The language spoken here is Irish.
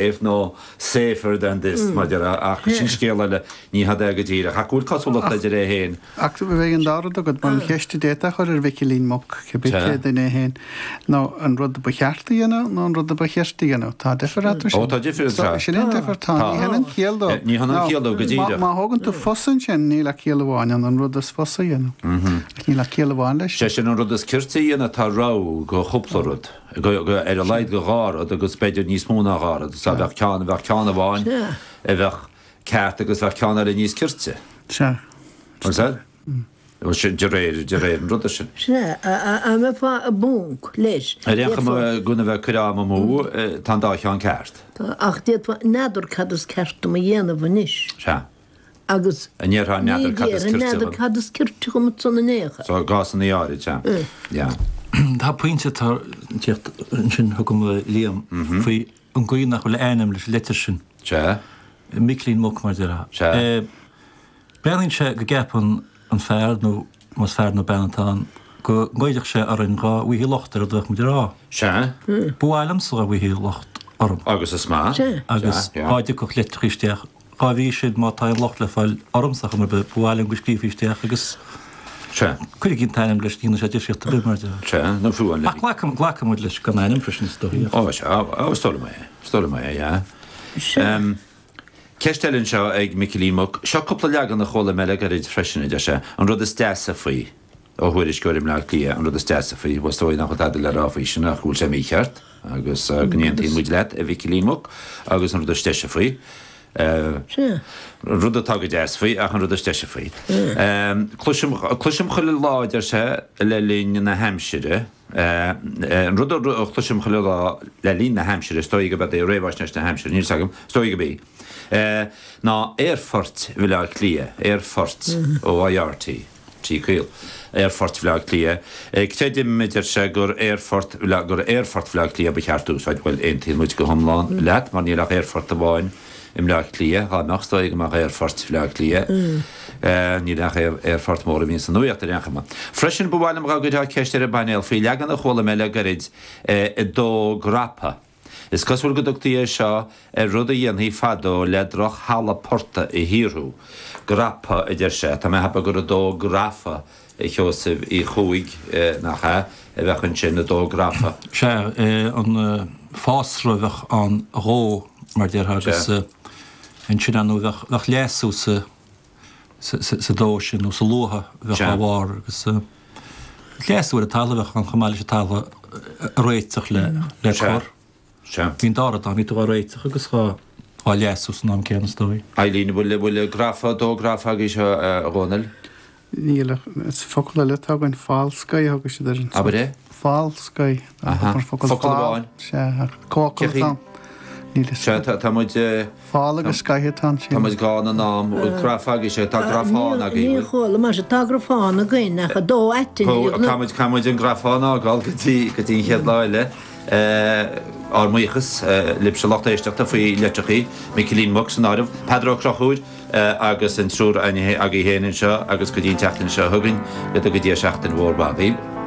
Safe nó safer than this, mar a déarfá, ach sin scéal eile, ní hea é go díreach, ach go bhfuil cosúlacht idir é féin. Ach bheadh an dá rud agat, mar an cheist a d'fhéadfá a chur ar Mhicilín Muc, cibé cé duine é féin, ná an rud a ba cheart a dhéanamh nó an rud a ba chirte a dhéanamh. Tá difear eatarthu sin. Ó, tá difear eatarthu. Sin é an difear, tá. Ní hionann ciall dó. Ní hionann ciall dó, go díreach. Má thógann tú fusa ansin, níl ach ciall amháin ann, an rud is fusa a dhéanamh. Ach níl ach ciall amháin leis. Sé sin an rud is cirte a dhéanamh, tá rogha go chúpla rud. ar a laghad go dhá rud agus b'fhéidir níos mó ná dhá rud. So bheadh ceann, bheadh ceann amháin a bheadh ceart agus bheadh ceann eile níos cirte. Sea. Bhfuil fhios a'd? Bhuel sin de réir, de réir an ruda sin. Sea, dá mbeifeá i bponc leis. Ar aon chuma, gan a bheith ag cur am amú, tá an dá cheann ceart. Tá, ach d'fhéadfá, n'fheadar cad is ceart dom a dhéanamh anois. Sea. Agus An ndéarfá ní n'fheadar cad is déarfainn cirte n'fheadar dhom. cad is cirte dhom ansan in aon chor. So, i gcásanna áirid, sea. Yeah. Tá pointe atá ag tíocht ansin chugam a Liam faoi an gcaoi nach bhfuil ainm leis an leitir sin. Sea. Micilín Muc mar déarfá. Sea. Breathnaíonn sé go gceapann an fear nó más fear nó bean atá ann go ngoillfeadh sé orainn dhá bhfaighfí locht ar rud a bheadh muid a rá. Sea. Ba mhaith liomsa dhá bhfaighfí locht orm. Agus is maith. Sea. Agus Sea. dhá dtiocfadh litreacha isteach Dá bhrí sin, má tá aon locht le fáil ormsa chuma ar bith, ba mhaith liom go scríofaí isteach agus Sea. cuirigí an t-ainm leis, ní dhéanfaidh sé difríocht ar bith, mar a déarfá. Sea, nó fiú an Ach glacann, glacann muid leis gan ainm freisin, is dóigh. Ó, sea, ó, is dóigh liom é, is dóigh liom é, yeah. Sea. Ceist eile anseo ag Micilín Muc. Seo cúpla leagan a chuala mé le gairid freisin, a deir sé. An rud is deasa faoi. Ó thuairisceoir i mBleá Cliath, an rud is deasa faoi, bhuel, is dóigh nach bhfuil tada le rá faoi sin ach go bhfuil sé mícheart, agus go n-aontaíonn muid leat, a Mhicilín Muc, agus an rud is deise faoi, Sea. an rud atá go deas faoi, ach an rud is deise faoi. Cloisim, cloisim chuile lá, a deir sé, le linn na haimsire, an rud a chloisim chuile lá le linn na haimsire, is dóigh gurb é réamhaisnéis na haimsire, níl 's agam, is dóigh gurb í, ná Aerfort Bhaile Átha Cliath, Aerfort, O-I-R-T. T caol. Aerfort Bhaile Átha Cliath. Creidim, a deir sé, gur Aerfort gur Aerfort Bhaile Átha Cliath ba cheart a úsáid. Bhuel, aontaíonn muid go hiomlán leat, mar níl ach aerfort amháin i mBleá Cliath. Dá mbeadh, is dóigh go mbeadh Aerfort Bhaile Átha Cliath. Níl ach aerfort mór a bhíonn sa nuaíocht ar aon chuma. Freisin, ba mhaith liom dá gcuirfeá ceist ar an bpainéal faoi leagan a chuala mé le gairid, i dó grapa. Is cosúil go dtugtaí é seo ar rud a dhéanfaí fadó le droch-thalamh portaigh a shaothrú. Grapa, a deir sé. Tá mé a cheapadh gur 2 grafa, a Sheosaimh Uí Chuaig, nach ea, a bheadh ansin, 2 grafa. Sea, an fásra a bheadh ann a dhó, mar a déarfá, agus ansin, ar ndóigh, bheadh leasú sa. sa dó sin nó sa luaithe a bheadh dá bharr agus leasú ar an talamh a bheadh ann chomh maith leis an talamh a réiteach le cur. Bhí an dá rud ann, bhí tú á réiteach agus á leasú san am céanna is dóigh. Eileen, bhfuil bhfuil grafa, dó grafa agaibhse a Dhónaill? Níl ach is focal eile atá againn, falscaí a thugadh siad air. Abair é? Falscaí. Aha. Focal amháin. Sea, ach comhfhocal atá ann. Níl fhios Sea, tá muid. Fál agus scaithe atá ansin. Tá muid gann in am. Bhfuil grafa agaibhse? Tá grafán agaibh, Níor chuala, mar sin, tá grafán againn ach a dó aitinn. Caithfidh muid, caithfidh muid an grafán a fhágáil go dtí, go dtí an chéad lá eile. Ár mbuíochas libhse lucht éisteachta faoi litreachaí, Micilín Muc san áireamh, Peadar Ó Conchúir agus an triúr agaibh féin anseo agus go dtí an tseachtain seo chugainn, go dtuga Dia seachtain mhór mhaith dhaoibh.